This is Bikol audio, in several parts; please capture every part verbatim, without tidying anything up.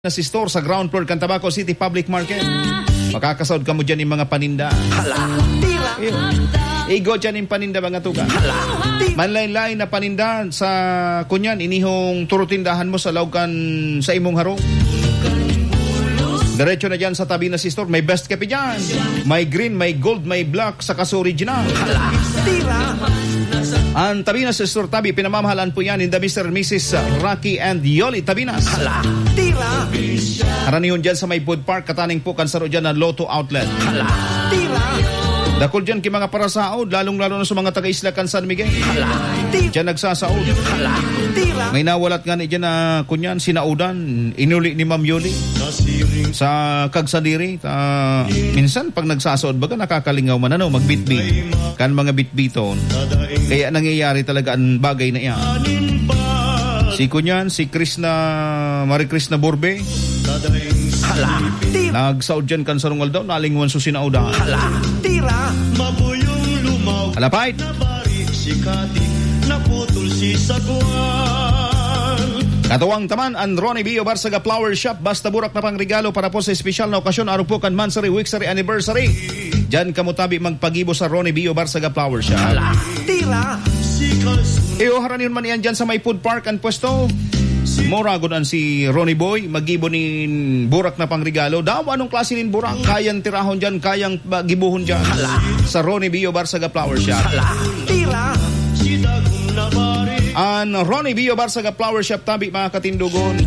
Tabinas Store sa ground floor kan Tabaco City Public Market. Makakasaod kamo dyan yung mga paninda. Hala, tira. Iyo. Igo dyan yung paninda, mga tugang. Hala, tira. Manlain-lain na paninda sa kunyan, inihong turutindahan mo sa laog kan sa imong harong. Diretso na dyan sa Tabinas Store. May best kape dyan. May green, may gold, may black, saka sa original. Hala, tira. Ang Tabinas Store Tabi, pinamamahalaan po yan in the Mister and Missus Rocky and Yoli Tabinas. Hala, tira. Haranihon dyan sa may food park, kataning po kan saro dyan na Lotto Outlet. Hala, tira. Dakul dyan ki mga parasaod, lalong-lalo na sa mga taga-isla kan San Miguel. Hala, tira. Dyan nagsasaod. Hala, tira. May nawalat nga ni dyan na kunyan, sinaudan, inuli ni Ma'am Yoli. Sa Kagsadiri, ah, minsan pag nagsasaod, baga nakakalingaw man, ano, magbitbit. Kan mga bitbiton. Kaya nangyayari talaga ang bagay na iyan. Si kunyan, si Krishna, Marie Krishna Borbe. Hala, tira. Nagsaod dyan kan sarong aldaw, nalingwan so sinaodan. Hala, tira. Mabuyong lumaw. Hala, fight. Nabari si Kati, naputol si Sagwan. Katuwang taman, ang Ronnie Bio Barsaga Flower Shop, basta burak na pangregalo para po sa espesyal na okasyon, arog po kan monthsary, weeksary, anniversary. Diyan kamo tabi magpagibo sa Ronnie Bio Barsaga Flower Shop. Hala, tira. Iyo, haranihon man iyan dyan sa may food park an pwesto. Mura gud an si Ronnie Boy, magibo nin burak na pangregalo. Daw, anong klase nin burak? Kayang tirahon dyan, kayang ba, gibohon dyan. Hala. Sa Ronnie Bio Barsaga Flower Shop. Hala, tira. An Ronnie Bio Barsaga Flower Shop tabi, mga katindogon.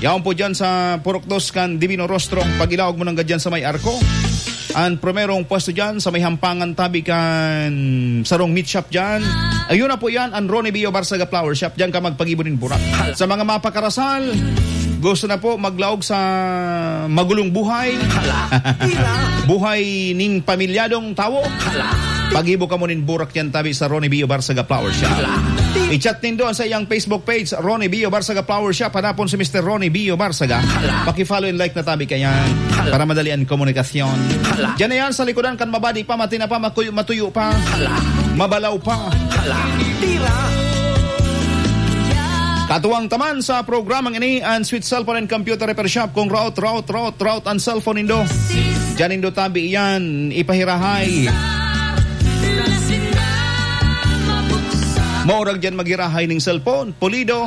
Yaon po dyan sa Purok Dos kan Divino Rostro. Pag-ilaog mo nang gadyan sa may arko. An primerong pwesto dyan sa may hampangan tabi kan sarong meat shop dyan. Ayun na po yan, an Ronnie Bio Barsaga Flower Shop. Diyan ka magpagibo nin burak. Sa mga mapakarasal, gusto na po maglaog sa magulong buhay. Hala. Buhay nin pamilyadong tawo. Hala. Pagibo ka mo nin burak yan tabi sa Ronnie Bio Barsaga Flower Shop. Hala. I-chat nindo ang sa iyang Facebook page, Ronnie Bio Barsaga Flower Shop. Hanapon si Mister Ronnie Bio Barsaga. Hala. Paki-follow and like na tabi kayan. Hala. Para madali ang komunikasyon. Hala. Diyan na yan sa likodan kan mabadi pa, matina pa, makuyo, matuyo pa. Hala. Mabalaw pa. Hala. Tira. Katuwang taman sa programang ini, ang Sweet Cellphone and Computer Repair Shop. Kung rout, rout, rout, rout ang cellphone nindo, diyan nindo tabi iyan, ipahirahay. Maurag diyan maghirahay ning cellphone, pulido.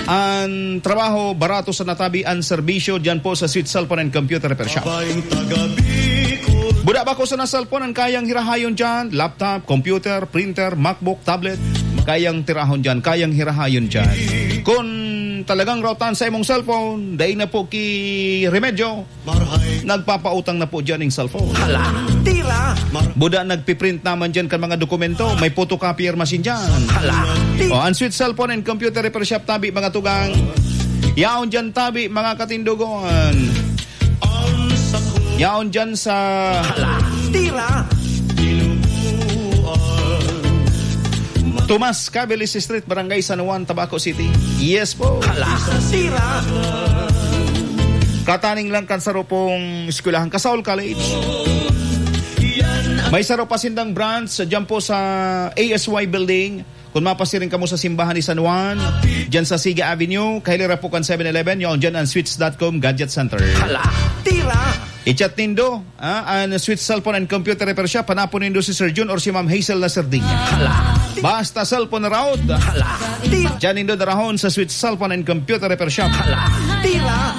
Ang trabaho, barato sa natabi ang serbisyo diyan po sa Sweet Cellphone and Computer Repair Shop. Buda ba ko sa na cellphone ang kayang hirahayon diyan? Laptop, computer, printer, MacBook, tablet. Kayang tirahon diyan, kayang hirahayon diyan. Kung talagang routan sa imong cellphone, dai na po ki remedyo. Nagpapautang na po diyan ning cellphone. Hala, tira. Buda nagpiprint naman diyan kan mga dokumento. May photocopier machine diyan. Hala, tira. O, ang Sweet Cellphone and Computer Repair Shop tabi, mga tugang. Yaon diyan tabi, mga katindogon. Yaon diyan sa Hala, tira. Tomas Cabilis Street, Barangay San Juan, Tabaco City. Yes po. Hala, tira. Kataning lang kan saro pong eskwelahan, Kasaul College. May saro pa sindang branch diyan po sa A S Y Building. Kung mapasiring kamo sa simbahan ni San Juan, diyan sa Siga Avenue, kahilera po kan Seven Eleven, yaon diyan ang sweets dot com Gadget Center. Hala, tira. I-chat nindo, ah, ang Sweet Cellphone and Computer Repair Shop, hanapon nindo si Sir Jun or si Ma'am Hazel na Sardinya. Hala. Basta cellphone na raot. Hala. Tira. Diyan nindo darahon sa Sweet Cellphone and Computer Repair Shop. Hala. Tira.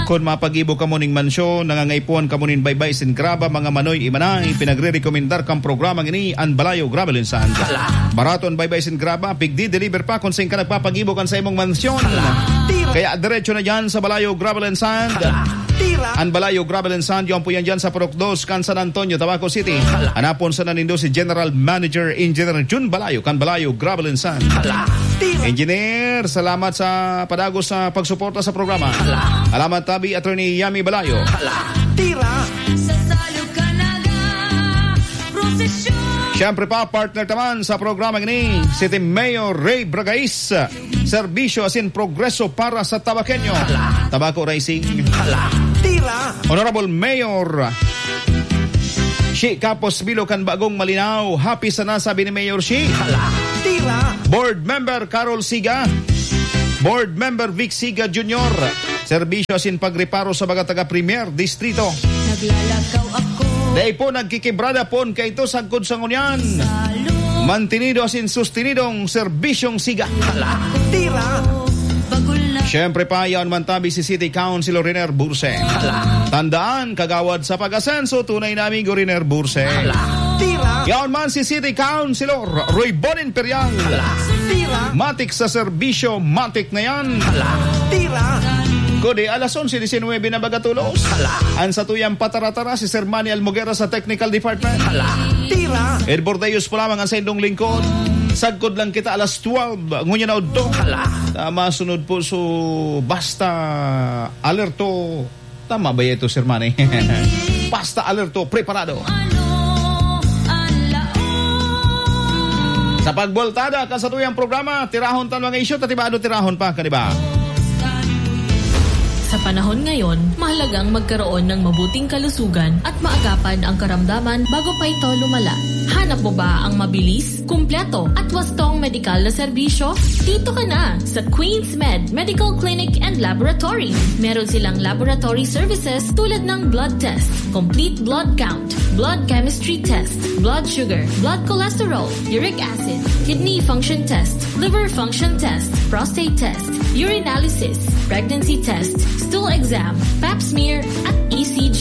Kung mapagibo kamo ning mansyon, nangangaipuhan kamo nin baybay sin graba, mga manoy, imanay, pinagre-rekomendar kan programang ini, an Balayo Gravel and Sand. Hala. Barato an baybay sin graba, pigdi-deliver pa kung saan ka nagpapagibo kan sa imong mansyon. Hala. Tira. Kaya diretso na diyan sa Balayo Gravel and Sand. Hala. Tira. An Balayo Gravel and Sand, yaon po yan diyan sa Purok Dos, kan San Antonio, Tabaco City. Hala. Hanapon sana nindo si General Manager Engineer Jun Balayo, kan Balayo Gravel and Sand. Hala. Tira. Engineer, salamat sa padagos sa pagsuporta sa programa. Hala. Salamat tabi, Attorney Yami Balayo. Hala. Tira. Siyempre pa, partner taman sa programa ini, City Mayor Ray Bragais. Serbisyo asin progreso para sa Tabaqueño. Hala. Tabaco Rising. Hala. Tira. Honorable Mayor Shi Capos Bilo kan Bagong Malinao. Happy sana, sabi ni Mayor Shi. Hala. Tira. Board Member Carol Siga. Board Member Vic Siga Junior. serbisyo asin pagreparo sa mga taga Primer Distrito. Naglalakaw ako. Dai po nagkikibrada pon kaito sagkod sa ngunyan. Sa loob. Mantenido asin sustenidong serbisyong siga. Hala, tira! Bagul na. Siyempre pa, yaon man tabi si City Councilor Riner Burse. Hala. Tandaan, kagawad sa pag-asenso, tunay na amigo Riner Burse. Hala, tira! Yaon man si City Councilor Roy Bon Imperial. Hala, tira! Matik sa serbisyo, matik na yan. Hala, tira! Kodi, alas onse diecinuebe na baga tolos. Hala. Ang satuyang pataratara, si Sir Manny Almoguera sa Technical Department. Hala, tira! Ed Bordeos po lamang ang saindong lingkod. Sagkod lang kita alas twelve, ngunyan na udto. Hala. Ah, masunod po, so, basta alerto. Tama ba ito, Sir Manny? Basta alerto, preparado. Ano ang laog? Sa pagboltada kan satuyang programa, tirahon tan mga isyu, ta tibado tirahon pa, kan iba. Sa panahon ngayon, mahalagang magkaroon ng mabuting kalusugan at maagapan ang karamdaman bago pa ito lumala. Hanap mo ba ang mabilis, kumpleto, at wastong medikal na serbisyo? Dito ka na sa Queens Med Medical Clinic and Laboratory. Meron silang laboratory services tulad ng blood test, complete blood count, blood chemistry test, blood sugar, blood cholesterol, uric acid, kidney function test, liver function test, prostate test, urinalysis, pregnancy test, stool exam, pap smear, at E C G.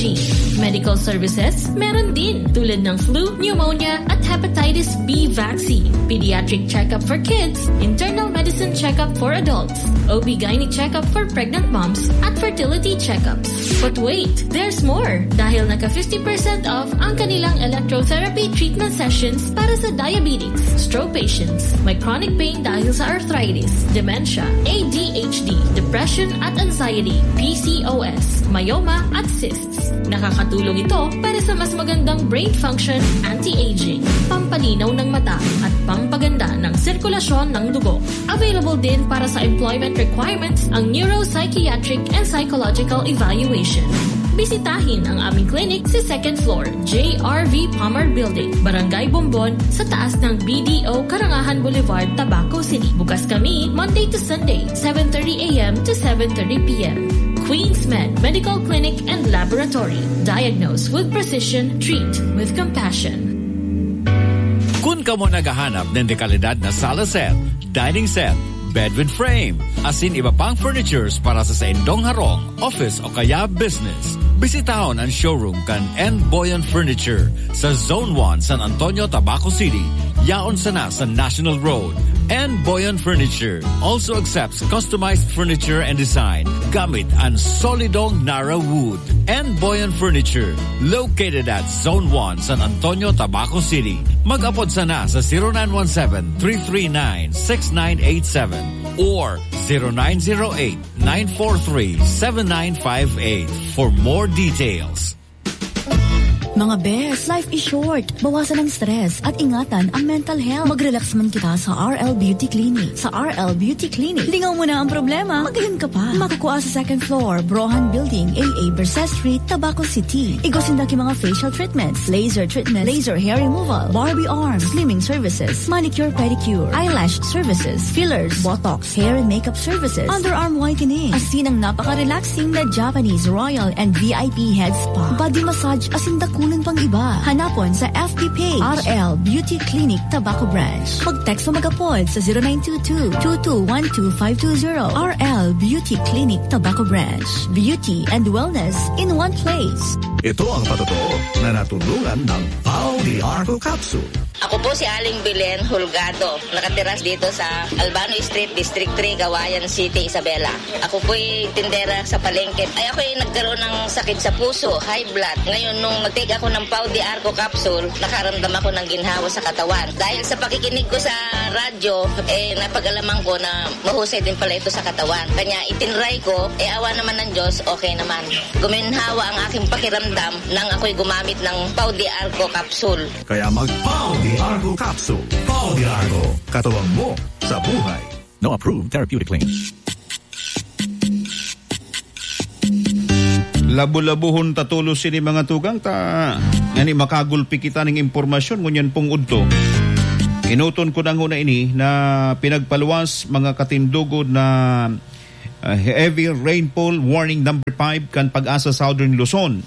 Medical services, meron din, tulad ng flu, pneumonia, at hepatitis B vaccine, pediatric checkup for kids, internal medicine checkup for adults, O B gynae checkup for pregnant moms, at fertility checkups. But wait, there's more! Dahil naka fifty percent off ang kanilang electrotherapy treatment sessions para sa diabetes, stroke patients, may chronic pain dahil sa arthritis, dementia, A D H D, depression at anxiety, P C O S, myoma at cysts. Nakakatulong ito para sa mas magandang brain function, anti-aging, pampalinaw ng mata, at pampaganda ng sirkulasyon ng dugo. Available din para sa employment requirements ang neuropsychiatric and psychological evaluation. Bisitahin ang aming clinic sa second floor, J R V Palmer Building, Barangay Bombon, sa taas ng B D O Karangahan Boulevard, Tabaco City. Bukas kami Monday to Sunday, seven thirty a m to seven thirty p m. Queens Med Medical Clinic and Laboratory. Diagnose with precision, treat with compassion. Kun kamo naghahanap nin dekalidad na sala set, dining set, bed with frame, asin iba pang furnitures para sa saindong harong, office o kaya business, bisitahon an showroom kan N Boyan Furniture sa Zone one, San Antonio, Tabaco City. Yaon sana sa National Road. N Boyan Furniture also accepts customized furniture and design gamit an solidong Nara Wood. N Boyan Furniture, located at Zone one, San Antonio, Tabaco City. Mag-apod sana sa zero nine one seven, three three nine, six nine eight seven or zero nine zero eight, nine four three, seven nine five eight for more details. Mga bes, life is short. Bawasan ang stress at ingatan ang mental health. Mag-relax man kita sa R L Beauty Clinic. Sa R L Beauty Clinic, lingaw mo na ang problema. Magayon ka pa. Makukua sa second floor, Brohan Building, A A Bercé Street, Tabaco City. Igwa sinda ki mga facial treatments, laser treatments, laser hair removal, Barbie arms, slimming services, manicure, pedicure, eyelash services, fillers, botox, hair and makeup services, underarm whitening, asin ang napaka-relaxing na Japanese Royal and V I P Head Spa, body massage, asin dakulang pang iba. Hanapon sa F B page, R L Beauty Clinic Tabaco Branch. Mag-text o mag-apod sa zero nine two two, two two one two five two zero. R L Beauty Clinic Tabaco Branch. Beauty and wellness in one place. Ito ang patotoo na natulungan ng Pau de Arco Capsule. Ako po si Aling Belen Holgado. Nakatira dito sa Albano Street, District three, Cauayan City, Isabela. Ako po'y tindera sa palengke. Ay, ako'y nagkaroon ng sakit sa puso, high blood. Ngayon, nung nag-take ako ng Pau de Arco capsule, nakaramdam ako ng ginhawa sa katawan. Dahil sa pakikinig ko sa radyo, eh, napag-alaman ko na mahusay din pala ito sa katawan. Kanya, itinry ko, eh, awa naman ng Diyos, okay naman. Guminhawa ang aking pakiramdam nang ako'y gumamit ng Pau de Arco capsule. Kaya mag Pau de Arco capsule. Pau de Arco, katuwang mo sa buhay. No approved therapeutic claim. Labo-labohon ta tolos ini, mga tugang, ta ngani makagulpi kita ning impormasyon ngunyan pong udto. Enoton ko na nguna ini na pinagpaluwas, mga katindog, na ah, heavy rainfall warning number five kan PAGASA Southern Luzon.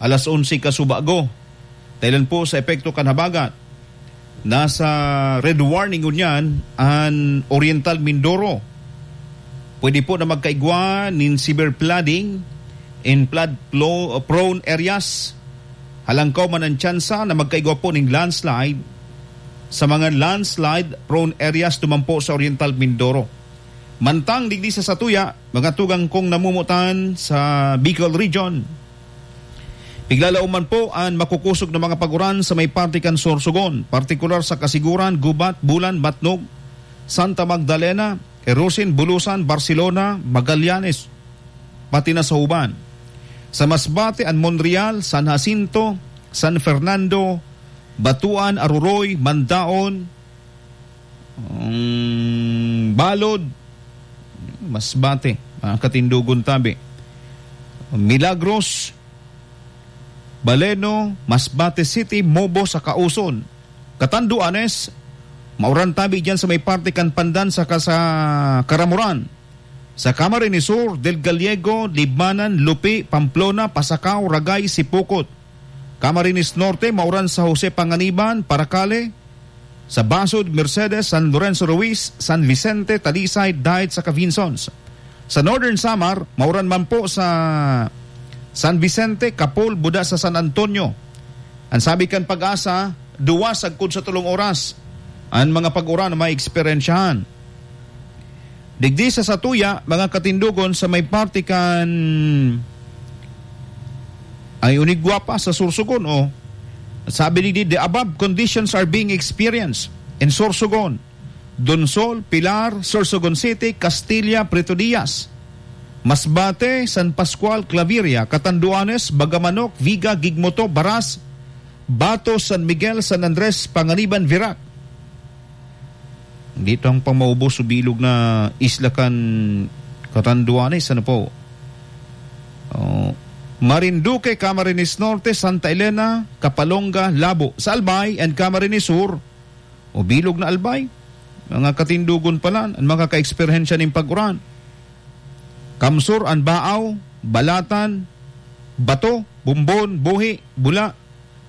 Alas onse kasubago. Dahilan po sa epekto kan habagat. Nasa red warning ngunyan an Oriental Mindoro. Pwede po na magkaigwa nin severe flooding in flood plo-, prone areas. Halangkaw man ang tsansa na magkaigwa po ning landslide sa mga landslide prone areas duman po sa Oriental Mindoro. Mantang digdi sa satuya, mga tugang kong namumutan sa Bicol Region, piglalaom man po an makukosog na mga paguran sa may parte kan Sorsogon, partikular sa Casiguran, Gubat, Bulan, Matnog, Santa Magdalena, Erosin, Bulusan, Barcelona, Magallanes, pati na sa Uban. Sa Masbate, an Monreal, San Jacinto, San Fernando, Batuan, Aroroy, Mandaon, um, Balod, Masbate, mga katindogon tabi. Milagros, Baleno, Masbate City, Mobo, sa Kauson. Catanduanes, mauran tabi diyan sa may parte kan Pandan saka sa Caramoran. Sa Camarines Sur, Del Gallego, Libmanan, Lupi, Pamplona, Pasacao, Ragay, Sipocot. Camarines Norte, mauran sa Jose Panganiban, Paracale, sa Basud, Mercedes, San Lorenzo Ruiz, San Vicente, Talisay, Daet saka Vinzons. Sa Northern Samar, mauran man po sa San Vicente, Kapul, buda sa San Antonio. Ang sabi kan PAGASA, duwa sagkod sa tolong oras an mga pag-uran na maeksperyensyahan. Digdi sa satuya, mga katindogon, sa may parte kan, ay, unigwa pa sa Sorsogon, oh. Sabi digdi, "The above conditions are being experienced in Sorsogon, Donsol, Pilar, Sorsogon City, Castilla, Prieto Diaz, Masbate, San Pascual, Claveria, Catanduanes, Bagamanok, Viga, Gigmoto, Baras, Bato, San Miguel, San Andres, Panganiban, Virac." Dito ang pamaubos o bilog na isla kan Catanduanes, ano po? Oh, Marinduque, Camarines Norte, Santa Elena, Capalonga, Labo. Sa Albay and Camarines Sur, o bilog na Albay, mga katindogon pala, ang makakaeksperyensya nin pag-uran. Kamsur, Anbaaw, Balatan, Bato, Bombon, Buhi, Bula,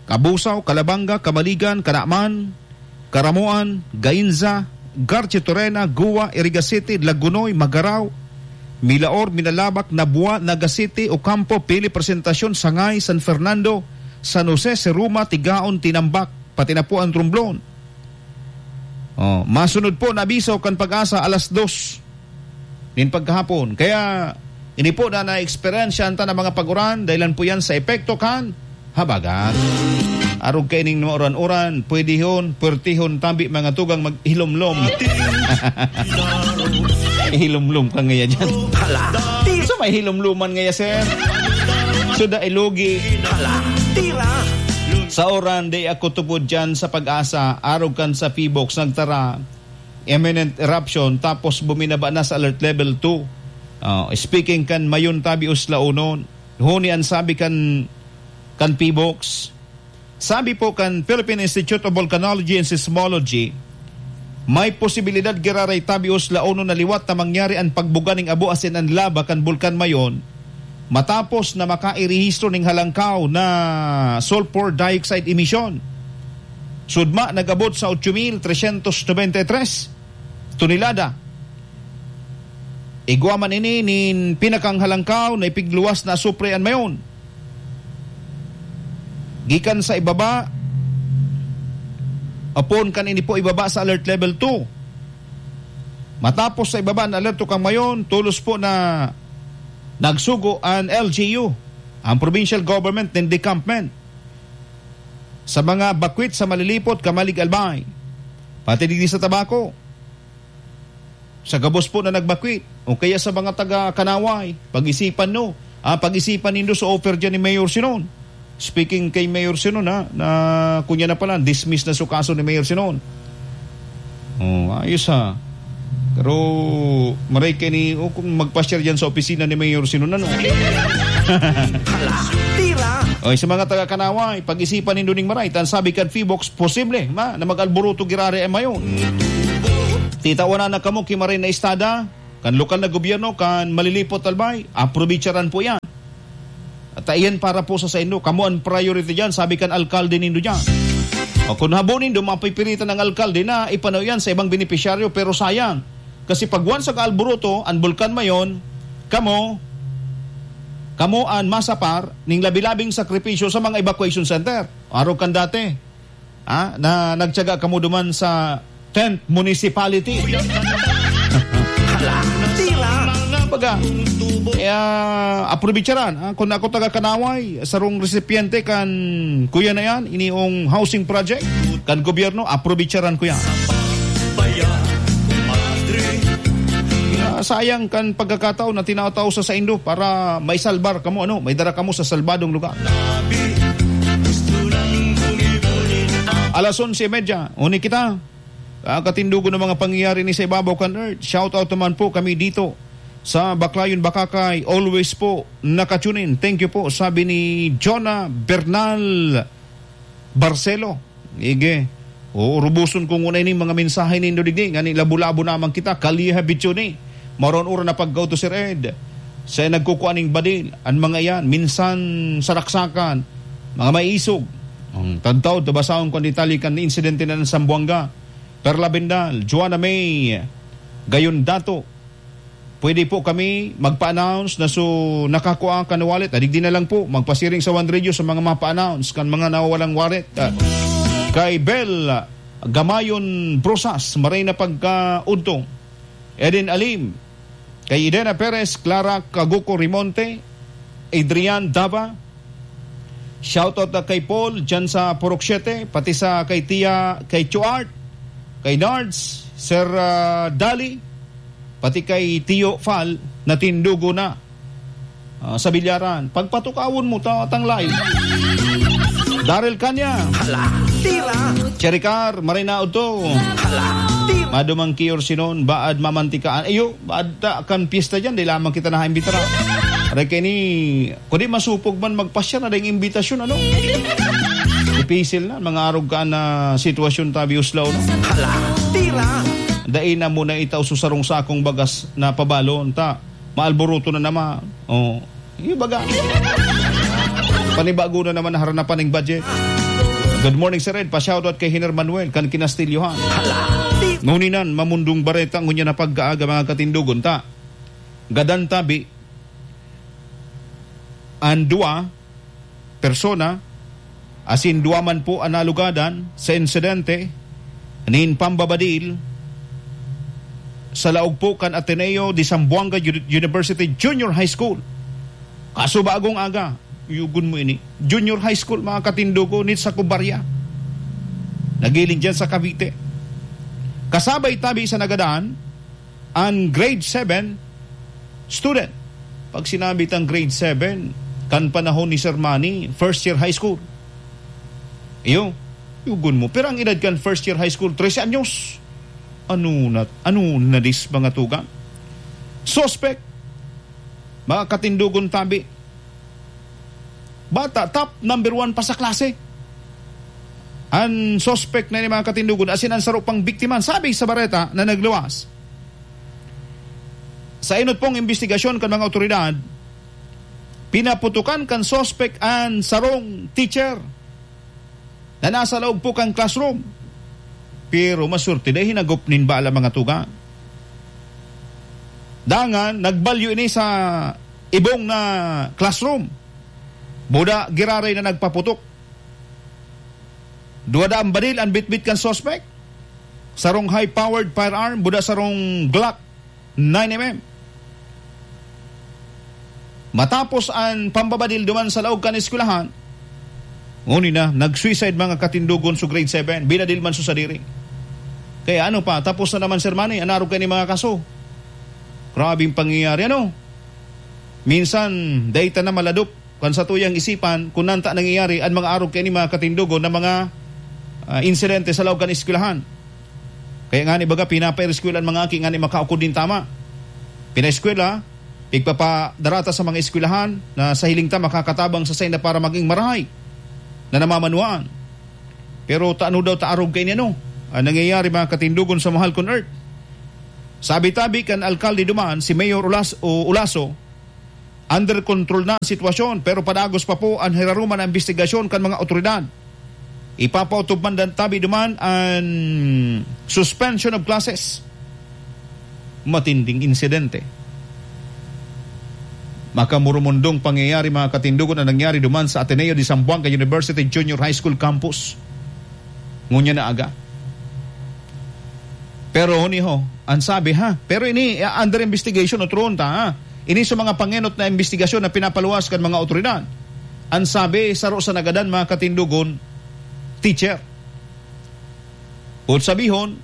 Cabusao, Calabanga, Camaligan, Canaman, Caramoan, Gainza, Garchitorena, Gua, Iriga City, Lagunoy, Magarao, Milaor, Minalabac, Nabua, Naga City, Ocampo, Pili, Presentacion, Sangay, San Fernando, San Jose, Siruma, Tigaon, Tinambac, pati na po ang Romblon. Oh, masunod po na abiso kan PAGASA alas dos nin pagkahapon. Kaya, ini po na naeksperyensyahan ta na mga pag-uran, dahilan po yan sa epekto kan habagat. Arog kaining mga uran-uran, pwedehon, pwertehon, tabi mga tugang maghilomlom. Hilomlom ka ngaya dyan. Hala, tira! So, may hilomloman ngaya, sir? So, dai lugi. Hala, tira! Sa uran, di ako tubod dyan sa PAGASA, arog kan sa PHIVOLCS, nagtara, imminent eruption, tapos buminaba na sa alert level two. Ah, speaking kan Mayon tabi Uslaonon, huni an sabi kan, kan PHIVOLCS. Sabi po kan Philippine Institute of Volcanology and Seismology, may posibilidad giraray tabi Uslaonon na liwat na mangyari an pagbuga ning abo asin an laba kan Bulkan Mayon matapos na makairehistro ning halangkaw na sulfur dioxide emission. Sudma nag-abot sa otso mil tresyentos nobenta y tres tonelada. Igwa man ini nin pinakang halangkaw na ipigluwas na asupre an Mayon. Gikan sa ibaba, apon kan ini po ibaba sa alert level two. Matapos sa ibaba na alerto kan Mayon, tolos po na nagsugo an L G U, ang provincial government nin decampment, sa mga bakwit sa Malilipot, Camalig, Albay, pati digdi sa Tabaco. Sa gabos po na nagbakwit, o kaya sa mga taga Kanaway, pag-isipan no, ah, pag-isipan nindo sa offer dyan ni Mayor Sinon. Speaking kay Mayor Sinon, ha, na kunya na pala, dismiss na su kaso ni Mayor Sinon. Oh, ayos ha. Pero maray kayo ni, o kung magpa-share dyan sa opisina ni Mayor Sinon, ano? Hala, tira! O, sa mga taga Kanaway, pag-isipan nindo ning maray, tan sabi kan PHIVOLCS, posible, ma, na mag-alboroto giraray an Mayon. Titawanan na kamo ki maray na estada, kan lokal na gobyerno, kan Malilipot Albay, aprobecharan po yan. At iyan para po sa saindo. Kamo ang priority dyan, sabi kan alkalde nindo dyan. O kung habo nindo, mapipilitan ng alkalde na ipanaw yan sa ibang benepisyaryo. Pero sayang, kasi pag once nag-alboroto, ang Bulkan Mayon, kamo, kamo ang masapar ning labi-labing sakripisyo sa mga evacuation center. Arog kan dati, ah, na nagtyaga kamo duman sa tenth municipality. Hala, tira! Baga, eh, ah, aprobecharan, ah, kung ako taga Kanaway, sarong resipiente kan kuya na yan, iniong housing project kan gobyerno, aprobecharan ko yan. Ah, sayang kan pagkakataon na tinatao sa saindo para may salbar kamo, ano, may dara kamo sa salbadong lugar. Alas onse y media, uni kita. Ah, katindugo ng mga pangyayari ni sa ibabaw kan earth. Shout out naman po kami dito sa Baclayon, Bacacay. Always po nakatunin. Thank you po, sabi ni Jonah Bernal Barcelo. Ige, uuruboson ko nguna ining mga mensahe nindo digdi, ngani labo-labo naman kita, kaliha bityo ni. Maron ura na pagkauto, Sir Ed. Sa nagkukuan ning badil, an mga iyan, minsan saraksakan, mga maisog. Ang tagtaod, tabasahon ko ang detalye kan insidente na sa Zamboanga. Perla Bendal, Joanna May, Gayon Dato, pwede po kami magpa-announce na so nakakua kan wallet. Adigdi na lang po, magpasiring sa One Radio sa mga mapa-announce kan mga nawawalang wallet. Ah, kay Bel Gamayon Brosas, maray na pagkaudto. Eden Alim, kay Idena Perez, Clara Kaguko Rimonte, Adrian Dava, shoutout na kay Paul, dyan sa Purok Siete, pati sa kay Tia, kay Chuart, kay Nards, Sir, ah, Dali, pati kay Tio Fal, natindugo na, ah, sa bilyaran. Pagpatukawon mo, ta-, tanglay. Daryl Canya. Hala, tira! Cherry Car, maray na udto. Hala, tira! Madumang kiyor sinon, baad mamantikaan. Ayo, baad ta kan piyesta dyan, di lamang kita nakaimbitara. Aray kaini, kundi masupog man magpasyar na dayong imbitasyon, ano? Dipisil na, mga arog ka na sitwasyon tabi uslaw, no? Hala, tira! Dai na muna itaw sa sarong sakong bagas na pabalon, ta maalboroto na naman. Oh, yung baga. Panibago na naman na haranapan ng budget. Good morning, Sir Ed. Pa-shoutout kay Hiner Manuel, kan kinastilyohan. Hala, tira! Nguninan, mamundong bareta, ngunya na pagkaaga, mga katindogon, ta gadan tabi, an duwa persona, asin duwa man po an nalugadan sa insidente nin pambabadil sa laog po kan Ateneo de Zamboanga Uni-, University Junior High School. Kaso bagong aga, yugon mo ini. Junior High School, mga katindogo, nit sa Kubarya. Nagiling dyan sa Cavite. Kasabay tabi sa nagadan, an grade seven student. Pag sinabi tang grade seven, kan panahon ni Sir Manny, first year high school. Iyo, yugon mo. Pero ang edad kan first year high school, trese anyos. Ano na, ano na dis, mga tugang? Suspect, mga katindogon tabi. Bata, top number one pa sa klase. An suspect na ni mga katindogon, asin an saro pang biktima, sabi sa bareta na nagluwas. Sa inot pong imbestigasyon kan mga otoridad, pinaputukan kan suspect an sarong teacher na nasa laog po kan classroom. Pero masurti, dai hinagop nin bala, mga tugang. Dangan, nagbalyo ini sa ibong na classroom. Buda giraray na nagpaputok. Duwa daang baril an bitbit kan suspect. Sarong high-powered firearm, buda sarong Glock nine M M. Matapos an pambabadil duman sa laog kan eskwelahan, nguni na, nag-suicide mga katindogon sa grade seven, binadil man sa sadiri. Kaya ano pa, tapos na naman, Sir Manny, an arog kaini mga kaso. Grabeng pangyayari, ano? Minsan, dai ta na maladop kan satuyang isipan kun nata nangyayari an mga arog kaini mga katindogon na mga, ah, insidente sa laog kan eskwelahan. Kaya ngani baga, pinapaeskwela an mga aki ngani makaukod nin tama. Pinaeskwela, pigpapadarata sa mga eskwelahan na sa hiling ta makakatabang sa sainda para maging marahay na namamanwaan. Pero ta ano daw ta arog kaini ano? Ang nangyayari, mga katindogon sa mahal kong earth. Sabi tabi kan alkalde duman, si Mayor Ulas-, o Ulaso, under control na ang sitwasyon, pero padagos pa po an hiraruman na imbestigasyon kan mga otoridad. Ipapaotob man dan tabi duman an suspension of classes. Matinding insidente. Makamurumundong pangyayari, mga katindogon, na nangyari duman sa Ateneo de Zamboanga University Junior High School Campus. Ngunyan na aga. Pero huni ho, ang sabi ha, pero ini, ah, under investigation, otron ta ha. Ini sa mga pangenot na investigasyon na pinapaluwas kan mga otoridad. Ang sabi, saro sa nagadan, mga katindogon, teacher. Boot sabihon,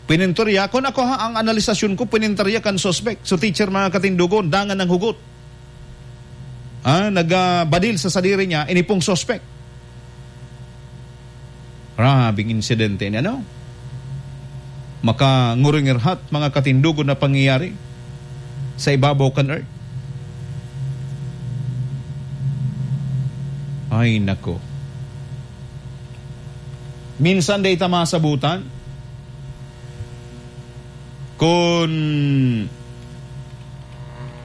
pinintorya, kun ako ha, ang analisasyon ko, pinintorya kan suspek. So, teacher, mga katindogon, dangan ng hugot. Ah, nagbadil sa sadiri niya, ini pong suspek. Grabeng insidente ni ano? Makangurungirhat, mga katindogon na pangyayari sa ibabaw kan earth. Ay, nako. Minsan dai ta masabutan kun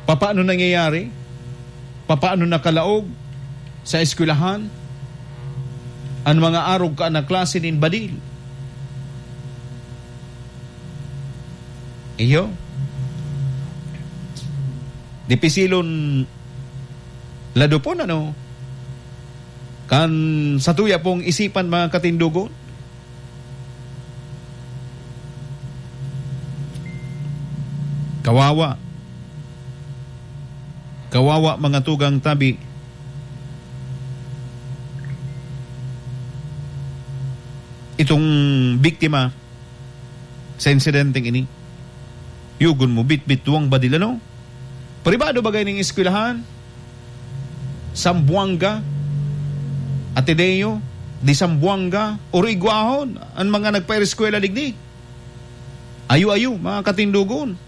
papaano nangyayari, papaano nakalaog sa eskwelahan an mga arog kaan na klase nin badil. Iyo. Dipisilon ladupon, ano? Kan satuya pong isipan, mga katindogon. Kawawa. Kawawa, mga tugang tabi. Itong biktima sa insidenteng ini. Yugon mo, bitbit duwang badil, ano? Pribado bagay ning eskwelahan? Zamboanga, Ateneo de Zamboanga, o igwahon an mga nagpaereskwela digdi? Ayo-ayo, mga katindogon.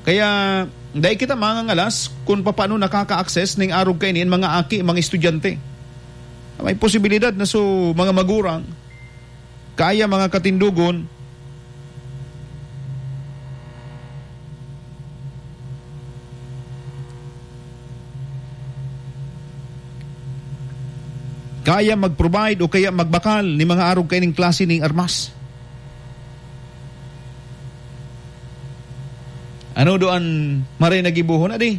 Kaya, dai kita mangangalas kun papaano nakaka-access ning arog kaini an mga aki, mga estudyante. May posibilidad na so mga magurang, kaya, mga katindogon, kaya mag-provide o kaya magbakal ni mga arog kaining klase ning armas. Ano do an maray na gibohon, adi?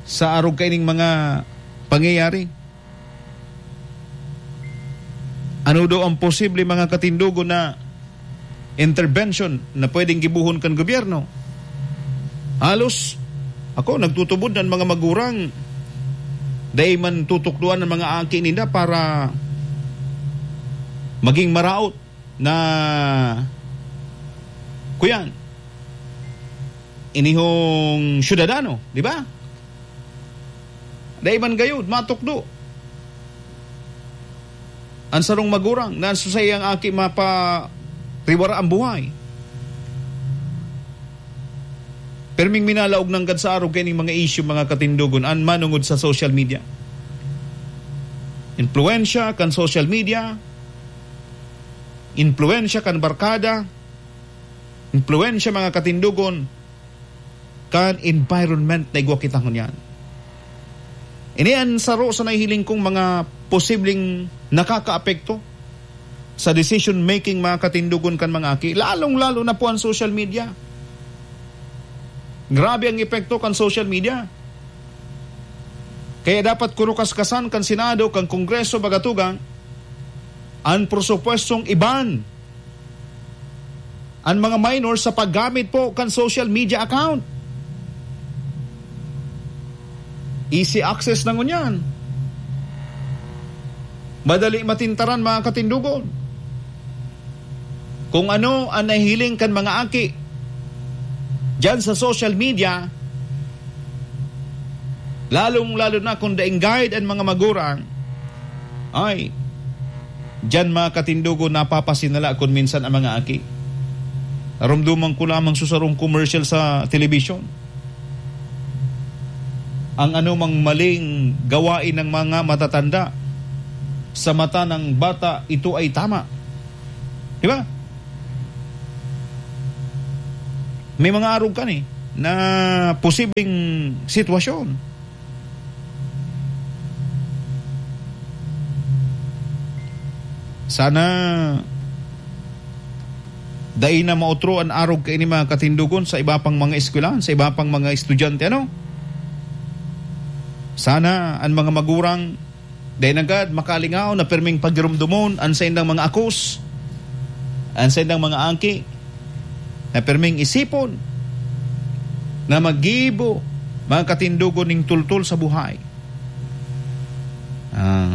Sa arog kaining mga pangyayari? Ano do ang posible, mga katindogon, na intervention na pwedeng gibohon kan gobyerno? Halos, ako, nagtutubod na an mga magurang, dai man tutukdoan an mga aki ninda para maging maraot na, kuyan, inihong syudadano, di ba? Dai man gayud matukdo an sarong magurang na an susay ang aki mapariwara ang buhay. Perming minalaog nanggad sa arog kaining mga issue, mga katindogon, an manungod sa social media. Impluwensya kan social media, impluwensya kan barkada, impluwensya, mga katindogon, kan environment na igwa kita ngunyan. Ini an saro sa nahihiling kong mga posibleng nakakaapekto sa decision making, mga katindogon, kan mga aki, lalong-lalo na po ang social media. Grabe ang epekto kan social media. Kaya dapat kurukaskasan kan Senado, kan Kongreso, baga tugang, an presupuestong iban an mga minor sa paggamit po kan social media account. Easy access na ngunyan. Madali matintaran, mga katindogon. Kung ano ang nahihiling kan mga aki diyan sa social media, lalong-lalo na kung daing guide an mga magurang, ay, diyan, mga katindogon, napapasinala kun minsan ang mga aki. Narumduman ko lamang sa sarong commercial sa telebisyon. Ang anumang maling gawain ng mga matatanda, sa mata ng bata, ito ay tama. Di ba? May mga arog kani na posibleng sitwasyon. Sana dai na maotro an arog kaini, mga katindogon, sa iba pang mga eskwelahan, sa iba pang mga estudyante, ano? Sana an mga magurang dai nanggad makalingaw na pirming pagiromdomon an saindang mga akos, an saindang mga angki, na pirming isipon na maggibo, mga katindogon, ning tultol sa buhay. Ah.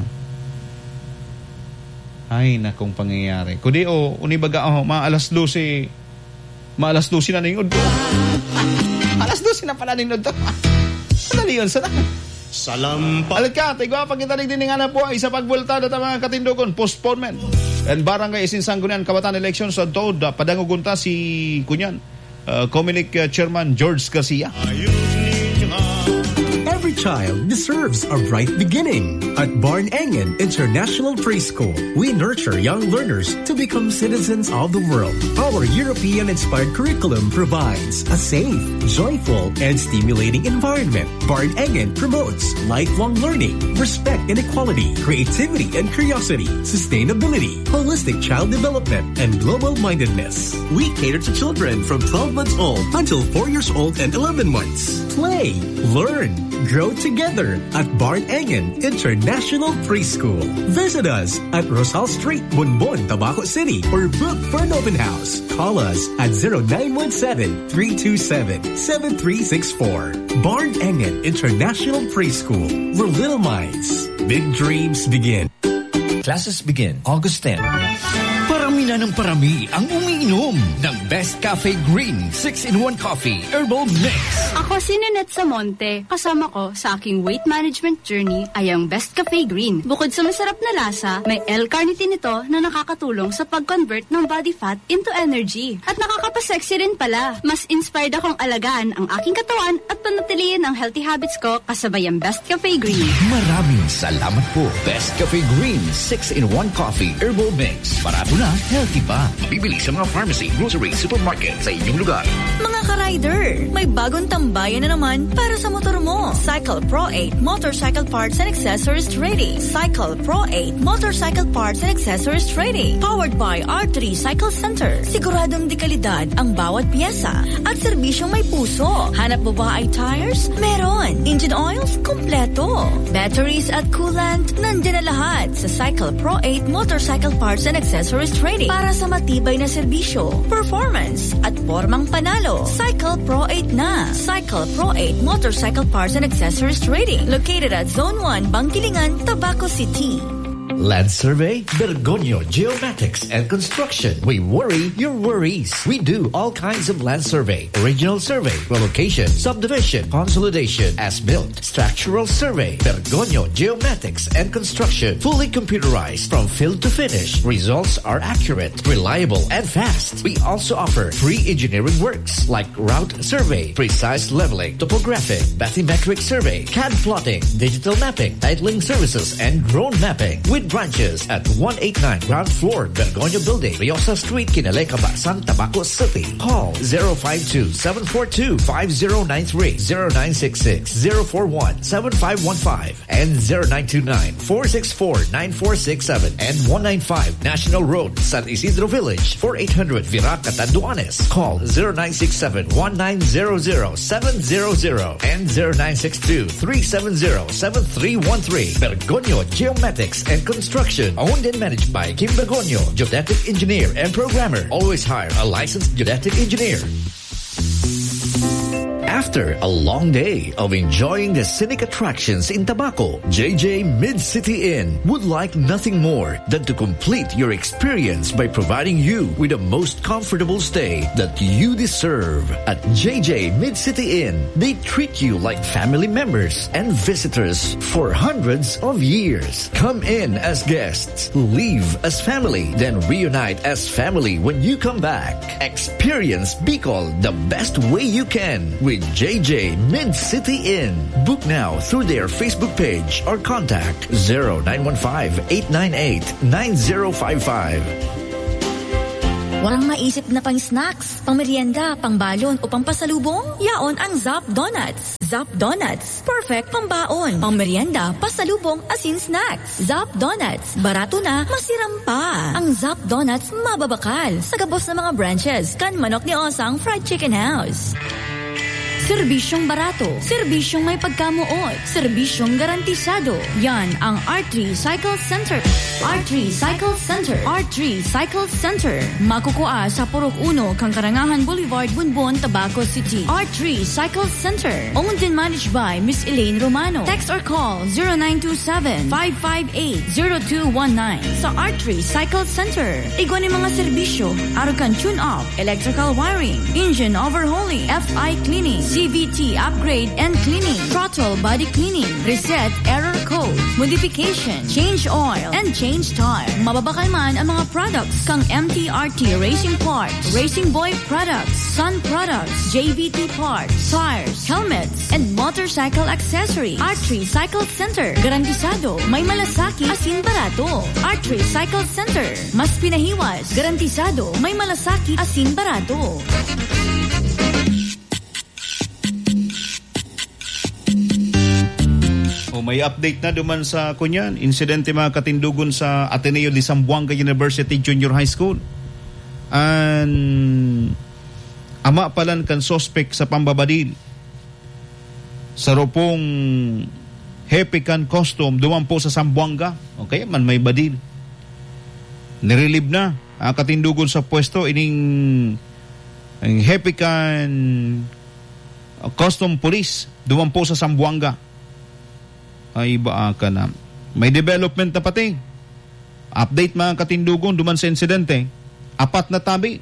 Ay, nakong pangyayari. Kudi o, uni baga, oh, mga alas dose, mga alas dose na ning udto. Alas dose na pala ning udto. Madali yun, sana. Salampa. Alat ka, tigwa pa kita digdi ning hanap buhay sa pagbuelta data, mga katindogon, postponement. And barangay isin sanggunian kabataan election sa Dod, padangogon ta si Kunyan, uh, Comelec, uh, Chairman George Garcia. Every child deserves a bright beginning. At Barn Engen International Preschool, we nurture young learners to become citizens of the world. Our European-inspired curriculum provides a safe, joyful, and stimulating environment. Barn Engen promotes lifelong learning, respect and equality, creativity and curiosity, sustainability, holistic child development, and global mindedness. We cater to children from twelve months old until four years old and eleven months. Play, learn, grow together at Barn Engen International Preschool. Visit us at Rosal Street, Bonbon, Tabaco City, or book for an open house. Call us at zero nine one seven, three two seven, seven three six four. Barn Engen International Preschool, where little minds, big dreams begin. Classes begin August ten. Parami na ng parami ang umiinom ng Best Cafe Green six-in-one Coffee Herbal Mix. Ako si Ninette Samonte. Kasama ko sa aking weight management journey ay ang Best Cafe Green. Bukod sa masarap na lasa, may L-carnitine ito na nakakatulong sa pag-convert ng body fat into energy. At nakakapasexy rin pala. Mas inspired akong alagaan ang aking katawan at panatilihin ang healthy habits ko kasabay ang Best Cafe Green. Maraming salamat po, Best Cafe Green six-in-one Coffee Herbal Mix. Barato na, healthy pa. Mabibili sa mga pharmacy, grocery, supermarket sa inyong lugar. Mga ka-rider, may bagong tambayan na naman para sa motor mo. Cycle Pro eight Motorcycle Parts and Accessories Trading. Cycle Pro eight Motorcycle Parts and Accessories Trading. Powered by R three Cycle Center. Siguradong dekalidad ang bawat pyesa at serbisyong may puso. Hanap mo ba ay tires? Meron. Engine oils? Kompleto. Batteries at coolant? Nandiyan na lahat sa Cycle Pro eight Motorcycle Parts and Accessories Trading para sa matibay na serbisyo, performance, at pormang panalo. Cycle Pro eight na. Cycle Pro eight Motorcycle Parts and Accessories Trading, located at Zone one, Bangkilingan, Tabaco City. Land Survey, Bergonyo Geomatics and Construction. We worry your worries. We do all kinds of land survey, original survey, relocation, subdivision, consolidation, as-built, structural survey. Bergonyo Geomatics and Construction, fully computerized from field to finish. Results are accurate, reliable, and fast. We also offer free engineering works like route survey, precise leveling, topographic, bathymetric survey, cad plotting, digital mapping, titling services, and drone mapping. With branches at one eight nine ground floor, Bergonyo Building, Riosa Street, Kinaleca, Bacsan, Tabaco City. Call zero five two, seven four two, five zero nine three, zero nine six six, zero four one, seven five one five. And zero nine two nine, four six four, nine four six seven and one nine five National Road, San Isidro Village, four eight hundred Virac, Catanduanes. Call zero nine six seven, one nine zero zero, seven zero zero and zero nine six two, three seven zero, seven three one three. Bergonyo Geomatics and Construction, owned and managed by Kim Bergonyo, geodetic engineer and programmer. Always hire a licensed geodetic engineer. After a long day of enjoying the scenic attractions in Tabaco, J J Mid-City Inn would like nothing more than to complete your experience by providing you with the most comfortable stay that you deserve. At J J Mid-City Inn, they treat you like family members and visitors for hundreds of years. Come in as guests, live as family, then reunite as family when you come back. Experience Bicol the best way you can with J J Mid City Inn. Book now through their Facebook page or contact zero nine one five, eight nine eight, nine zero five five. Walang maisip na pang-snacks, pang-merienda, pang-balon o pang-pasalubong? Yaon ang Zap Donuts. Zap Donuts, perfect pang-baon, pang-merienda, pasalubong, asin snacks. Zap Donuts, barato na, masiram pa. Ang Zap Donuts mababakal sa gabos na mga branches kan Manok ni Osang Fried Chicken House. Serbisyong barato, serbisyong may pagkamoot, serbisyong garantisado. Yan ang R three Cycle Center. R three Cycle Center. R three Cycle Center. Makukua sa Purok Uno, Kangkarangahan Boulevard, Bonbon, Tabaco City. R three Cycle Center. Owned and managed by Miss Elaine Romano. Text or call zero nine two seven, five five eight, zero two one nine. Sa R three Cycle Center, igwa ni mga serbisyo, arog kan tune-up, electrical wiring, engine overhauling, F I cleaning, C V T upgrade and cleaning, throttle body cleaning, reset error code, modification, change oil, and change tire. Mababakal man ang mga products kang M T R T Racing Parts, Racing Boy Products, Sun Products, J V T Parts, tires, helmets, and motorcycle accessories. R three Cycle Center. Garantisado, may malasakit, asin barato. R three Cycle Center. Mas pinahiwas. Garantisado, may malasakit, asin barato. O, may update na duman sa, kunyan, insidente, mga katindogon, sa Ateneo de Zamboanga University Junior High School. An ama palan kan suspek sa pambabadil, saro pong hepe kan custom duman po sa Zamboanga. O kaya man may badil. Nirelieve na, ah, katindogon sa pwesto ining ang hepe kan, ah, custom police duman po sa Zamboanga. Ay, baa ka na. May development na pati. Update, mga katindogon, duman sa insidente. Apat na tabi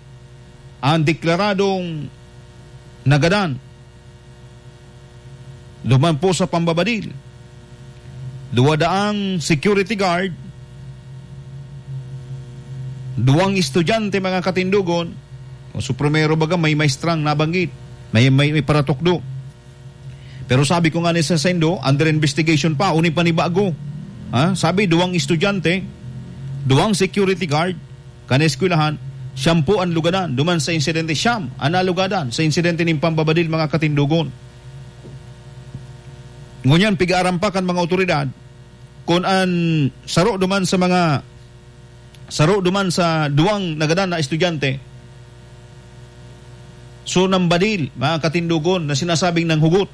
ang deklaradong nagadan duman po sa pambabadil. Duwa daang security guard, duwang estudyante, mga katindogon. O, so, primero baga, may maestrang nabanggit. May, may, may paratukdo. Pero sabi ko nga ni sa saindo, under investigation pa, uni pa ni bago. Ha? Sabi, duwang estudyante, duwang security guard, kan eskwelahan, siyam po an lugadan. Duman sa insidente, siyam an nalugadan sa insidente nin pambabadil, mga katindogon. Ngunyan, pig-aaram pa kan mga otoridad kun an saro duman sa mga, saro duman sa duwang nagadan na estudyante, so, nambadil, mga katindogon, na sinasabing nanghugot.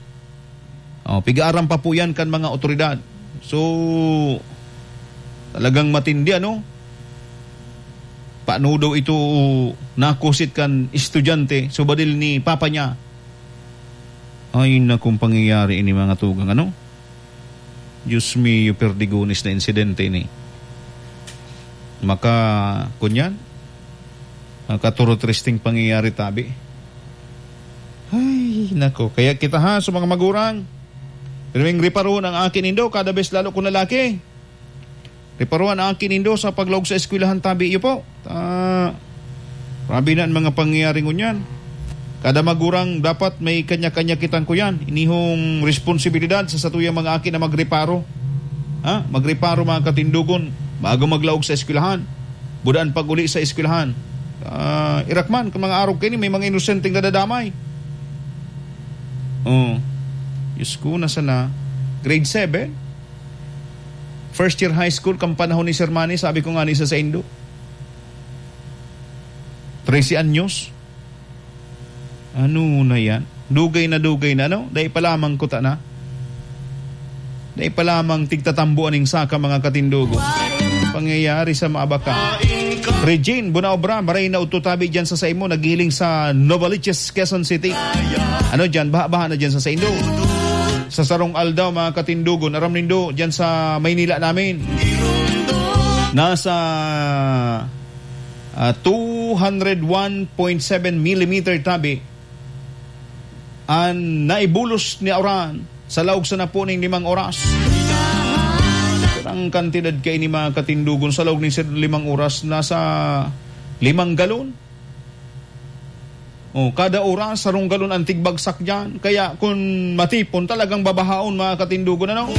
Oh, pig-aaram pa po yan kan mga otoridad. So, talagang matindi, ano? Paano daw ito nakusit kan estudyante? So, badil ni papa niya. Ay, nakong pangyayari ini, mga tugang, ano? Diyos mio, perdigones na insidente ini. Maka, kunyan? Makaturotristing pangyayari tabi. Ay, nako. Kaya kita ha, sa mga magurang, pirming reparohon ang aki nindo, kada bes lalo kung lalaki. Reparohan ang aki nindo sa paglaog sa eskwelahan tabi iyo po. Ah, grabe na ang mga pangyayari ngunyan. Kada magurang dapat may kanya-kanya kitang kuyan. Inihong responsibilidad sa satuyang mga aki na magreparo. Ha? Magreparo, mga katindogon, bago maglaog sa eskwelahan. Budaan pag-uli sa eskwelahan. Ah, irakman, kung mga arog kaini, may mga inosenteng nadadamay. Oh, Diyos ko, nasa na? Grade seven? First year high school, kan panahon ni Sir Manny, sabi ko nga ni sa saindo. Trese anyos. Ano na yan? Dugay na dugay na, no? Dai pa lamang kuta na. Dai pa lamang tigtatambo aning saka, mga katindogo. Pangyayari sa Maabaka. Regine Bunaobra, maray na udto tabi dyan sa saimo, naghihiling sa Novaliches, Quezon City. Ano dyan? Baha-baha na dyan sa saindo. Sa sarong aldaw, mga katindogon, aram nindo, dyan sa Maynila namin. Nasa, ah, two hundred one point seven millimeter tabi an naibulos ni uran sa laog sa napuning limang oras. Ang kantidad kaini, mga katindogon, sa laog ni sir limang oras, nasa limang galon. Oh, kada oras, sarong galon ang tigbagsak diyan. Kaya kung matipon, talagang babahaon, mga katindogon, ano?